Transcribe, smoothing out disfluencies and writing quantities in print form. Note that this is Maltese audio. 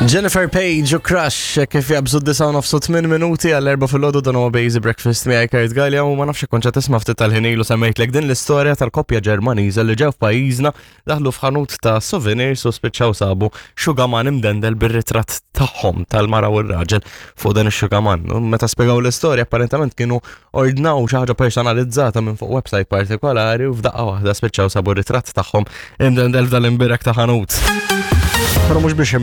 Jennifer Page u Crush kif jabżu 9:08 minuti għall-4 fil-ħodu dan huwa Bazy Breakfast miegħi Kurt Gallia u ma nafx konċa tisma' ftit tal-ħin ilu semmejtlek din l-istorja tal-koppja Ġermaniża li ġew f'pajjiżna daħlu f'ħanut ta' souvenirs u spiċċaw sabu xugaman imdendel bir-ritratt tagħhom tal-mara u r-raġel fuq dan ix-xugaman. Meta spjegaw l-istorja apparentament kienu ordnaw xi ħaġa personalizzata minn fuq website partikolari u f'daqqa waħda spiċċaw sabu ritratt tagħhom imdendel f'dal imbirek ta' ħanut. Però mhux biex.